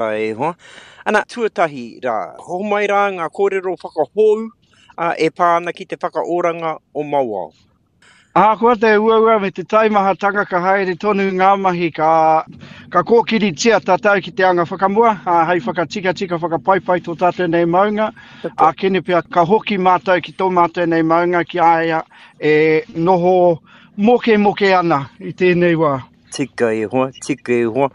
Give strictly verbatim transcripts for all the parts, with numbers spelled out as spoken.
E hoa. Ana, tuatahi rā, homai rā ngā kōrero whakahou e pā ana ki te whakaoranga o Mauao. Ahakoa te uaua me te taimahatanga ka haere tonu ngā mahi ka, ka kōkiritia tātou ki te anga whakamua, ā, hei whakatikatika whakapaipai tō tātou nei maunga, ā kene pea ka hoki mātou ki tō mātou nei maunga ki a ia e noho mokemoke ana i tēnei wā. Tika e hoa, tika e hoa.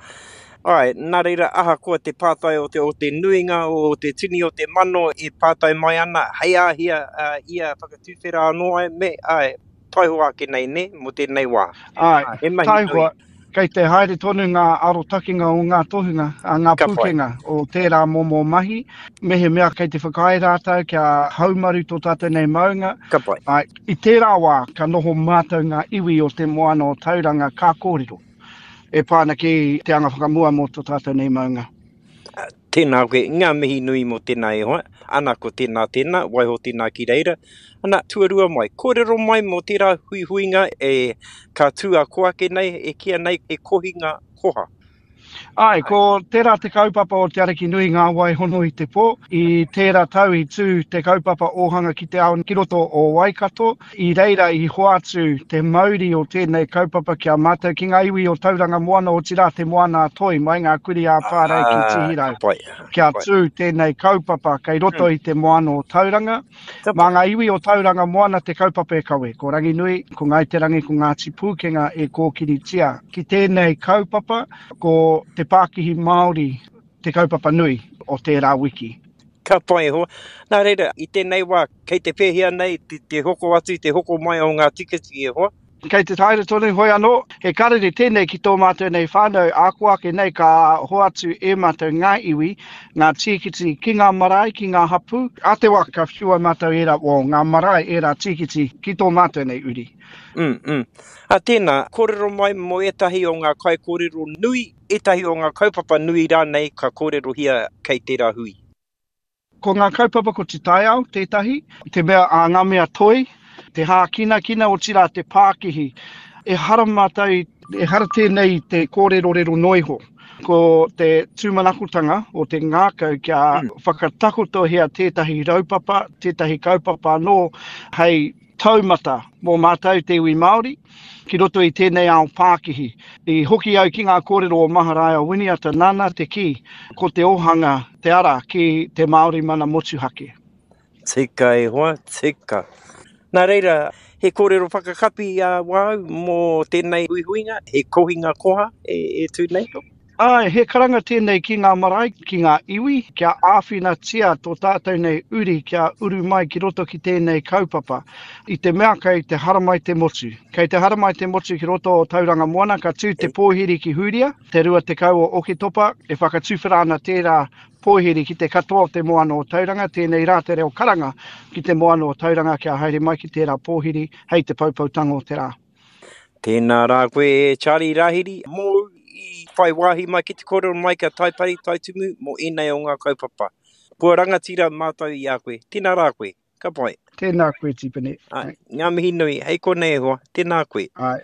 Āe, nā reira ahakoa te pātai o te, o te nuinga, o te tini o te mano e pātai mai ana, hei āhea uh, ia whakatuwhera anō ai, me, āe, taihoa ake nei, nē, mō tēnei wā. Āe, he mahi taihoa, kei te haere tonu ngā arotakenga o ngā tohunga, a ngā Ka pūkenga o tērā momo mahi, mehemea kei te whakaae rātou kia haumaru tō tātou nei maunga. Ka pai. Āe, i tērā wā ka noho mātou ngā iwi o te moana o Tauranga ka kōrero e pā ana ki te anga whakamua mō tō tātou nei maunga. Tēnā koe, ngā mihi nui mō tēnā e hoa, ana ko tēnā tēnā, waiho tēnā ki reira. Ana, tuarua mai, kōrero mai mō tērā huihuinga e ka tū a ko ake nei, e kīia nei he kohinga koha. Āe, ko tērā te kaupapa o Te Ariki Nui Ngā Wai Hono i te Pō. I tērā tau i tū te kaupapa ōhanga ki te ao ki roto o Waikato. I reira i hoatu te mauri o tēnei kaupapa ki a mātou, ki ngā iwi o Tauranga Moana, otirā Te Moana-a-Toi, mai ngā kurī ā-Pārei ki Tihirau. Kia tū tēnei kaupapa kei roto i te moana o Tauranga. Mā ngā iwi o Tauranga Moana te kaupapa e kawe. Ko Ranginui, ko Ngāi Te Rangi, ko Ngāti Pūkenga e kōkiritia ki tēnei kaupapa, ko te pākihi Māori te kaupapa nui o tērā wiki. Ka pai e hoa. Nā reira, i tēnei wā, kei te pēhea nei te hoko atu, te hoko mai o ngā tiketike e hoa? Kei te haere tonu, hoi anō, he karere tēnei ki tō mātou nei whānau, āko ake nei ka hoatu e mātou ngā iwi, ngā tīkiti ki ngā marae, ki ngā hapū. Ā te wā ka whiua mātou ērā, well, ngā marae ērā tīkiti ki tō mātou nei uri. Mm, mm. Ā, tēnā, kōrero mai mō ētahi o ngā kaikōrero nui, ētahi o ngā kaupapa nui rānei ka kōrerohia kei tērā hui. Ko ngā kaupapa ko te taiao tētahi, te mea a ngā mea toi, te hākinakina, otirā te pākihi. Ehara mātou, ehara tēnei i te kōrerorero noa iho. Ko te tūmanakotanga o te ngākau kia whakatakotohia tētahi raupapa, tētahi kaupapa anō hei taumata mō mātou te iwi Māori ki roto i tēnei ao pākihi. I hoki au ki ngā kōrero o Maharaia Winiata nāna te kī, ko te ōhanga te ara ki te Māori mana motuhake. Tika e hoa, tika. Nā reira, he kōrero whakakapi a wāu mō tēnei huihuinga, he kohinga koha e, e tū nei? Āe, he karanga tēnei ki ngā marae, ki ngā iwi, kia āwhinatia tō tātou nei uri kia uru mai ki roto ki tēnei kaupapa. I te mea kei te haramai te motu. Kei te haramai te motu ki roto o Tauranga Moana, ka tū te pōhiri ki Hūria, te rua tekau o Oketopa, e whakatuwhera ana tērā pōhiri ki te katoa o te moana o Tauranga, tēnei rā te reo karanga ki te moana o Tauranga kia haere mai ki tērā pōhiri hei te poupoutanga o te rā. Tēnā rā koe e Charlie Rahiri, mōu i whai wāhi mai ki te kōrero mai kia Taipari, Taitumu mō ēnei o ngā kaupapa. Kua rangatira mātou i a koe. Tēnā rā koe. Ka pai. Tēnā koe Tipene. Āe, ngā mihi nui. Hei konei e hoa. Tēnā koe. Āe.